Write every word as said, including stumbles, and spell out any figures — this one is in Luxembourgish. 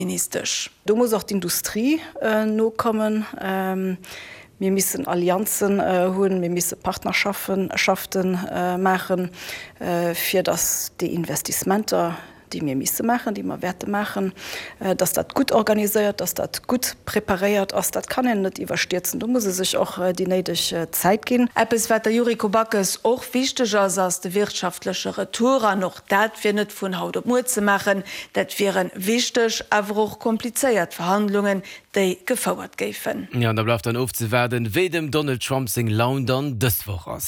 Ministesch. Do muss och d'Industrie nokommen. Mir missen Allianzen hunn, mir misse Partnerschaften maachen, fir datt déi Investissementer, déi mir misse maachen, déi mer wäerte maachen, datt dat gutt organiséiert, datt dat gutt preparéiert ass. Dat kann een net iwwerstierzen. Do muss ee sech och déi néideg Zäit ginn. Eppes, wat der Yuriko Backes och wichteg ass, ass de wirtschaftleche Retour. An och dat wier net vun haut op muer ze maachen. Dat wiere wichteg, awer och komplizéiert Verhandlungen, déi gefouert géifen. Jo, an da bleift dann ofzewaarden, wéi dem Donald Trump seng Laun dann dës Woch ass.